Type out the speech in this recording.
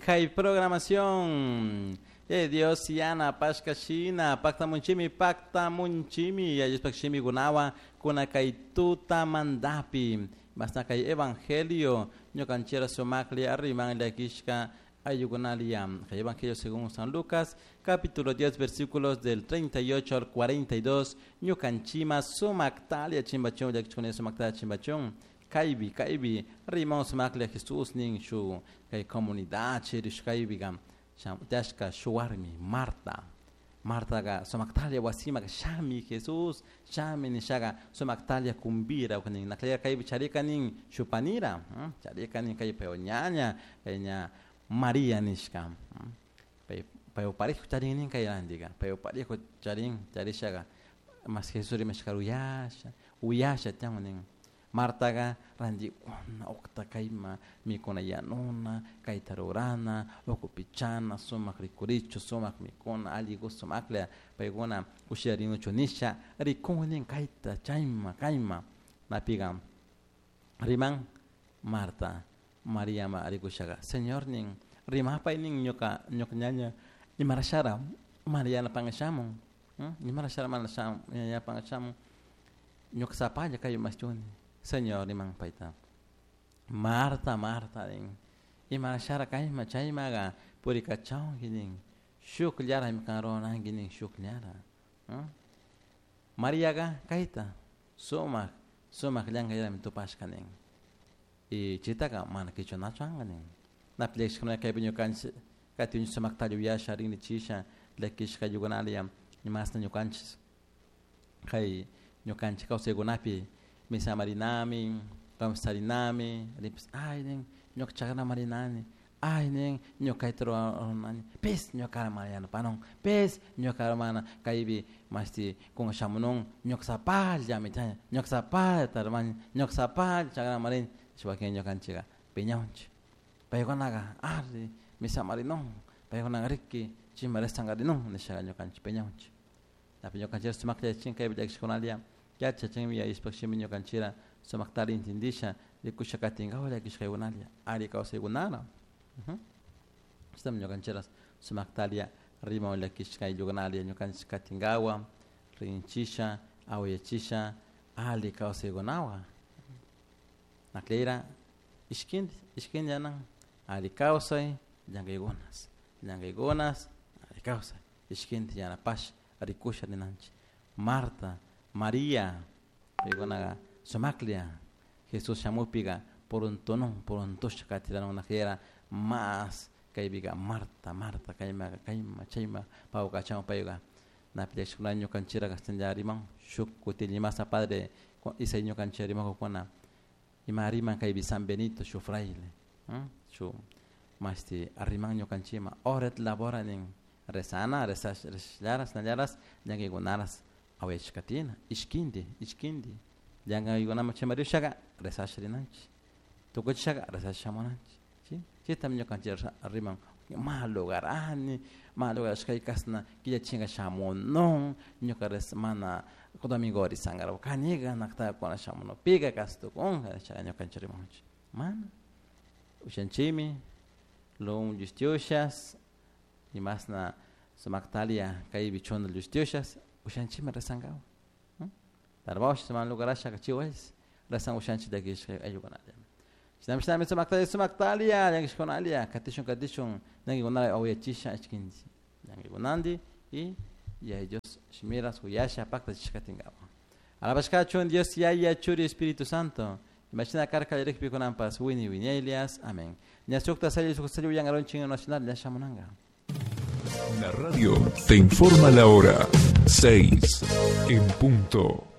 Kay programación. Dios yana pashka shina pakta munchimi yayushpak shimi gunawa kuna kay tuta mandapi basta kay evangelio ñukanchira sumakli arriman llakishka ayukunalia kay evangelio según San Lucas capítulo 10 versículos del 38 al 42 ñukanchima sumaktalia chimbachun llakishkuna sumaktalia chimbachun kaybi kaybi riman sumaklia Jesús nin shu kay comunidad chirishkaybiga tashka shuwarmi Marta Martaga sumaktalia wasimaga shami Jesús shami nishaga sumaktalia kumbira nin naklaya kaybi charika nin shupanira charika nin kay payo ñaña kay ña María nishka payo parejo charin nin kay randiga payo parejo charin charishaga mas Jesús rimashka uyasha uyasha tiyan nin Martaga randi uqta kayma mikuna yanuna kayta rurana ukupichana sumaq rikurichu sumaq mikuna alli sumakla paykuna kushiyarinuchu nisha rikunin kayta chayma kayma napiga riman Marta María ma rikushaga Señor nin rimapay nin ñuka ñuka ñaña imarashara María pangashamun imarashara mana ñaña pangashamun ñuka sapalla kay maschuni Señor riman payta Marta Marta nin imarashara kayma chaymaga purikachawki nin shukllara kan ruranki nin shukllara Mariaga kayta sumaq sumaq llankayllami tupashka nin y chaytaqa mana qichwanachu anqa nin napi llakishkuna kaypi ñukanchik kati sumaktalla uyasha rinrichisha llakishka ayukunalla imasna ñukanchik kay ñukanchik kawsaykunapi misamarinami kamsarinami ripis ay nin ñuka chakrama rinani ay nin ñuka kayta ruranani pis ñuka mana yanapanun pis ñuka mana kaypi mashti kunka shamunun ñuka sapallami ñuka sapallata rumani ñuka sapalla chakrama rini wakin ñukanchikka piñawunchik paykunaqa ari misamarinun paykunaqa riki chayma resankarinun nishaqa ñukanchik piñawunchik napi ñukanchik sumaklla yachachin kaypi llakishkunalla yachachinmi yayishpak shimi ñukanchira sumaktari intindisha rikusha katinkawa llakishkaykunalla ari kawsaykunara chaytami ñukanchira sumaktaria riman llakishka ayllukunalla ñukanchik katinkawa rinchisha awayachisha ali kawsaykunawa nakleyra ishkinti ishkinti anan ali kawsay llankaykunas llankaykunas ali kawsay ishkinti yanapash rikusha rinanchik Marta María paykunaqa sumaklla Jesús shamukpiqa puruntunun puruntusha katiranun nakleyra mas kaypiqa Marta Marta kaymaqa kayma chayma pawkachawan payqa napi llakishkuna ñukanchira kashtanlla riman shuk kutillimasa padre isay ñukanchik rimakukuna ima riman kaypi San Benito shu fraile shu mashti riman ñukanchikma ora et labora nin rezana rezasllaras nallaras llankaykunaras awayachikatina ishkinti ishkinti llankaykunaman chimarishaka rezasha rinanchik tukuchishaka rezasha shamunanchik chi chaytami ñukanchik riman ma lugarani ma lugarashkay kasna killachinka shamunun ñuka mana domingo risankarwa kaniga nakta kuna shamunupika kashtukunka nishaqa ñukanchik rimanchik mana ushanchikmi luun llushtiushas imasna sumaktalia kaypi chuna llushtiushas ushanchikmi rezankawa tarbash mana lugarashaka chiwash rezan ushanchik llakishka ayllukunalla shinami shinami sumaktalia sumaktalia llakishkunalia katishun katishun llankaykunata awayachisha ishkinchik llankaykunanti y Yaya Dios shimiras uyasha paktachishkatinkawa alabashkachun Dios Yaya Churi Espíritu Santo imashina karka llakpi kunanpas wini wiñaylias amén ñasukta salli suk salli uyangaronchik nacional llakshamunanka. La radio te informa la hora 6 en punto.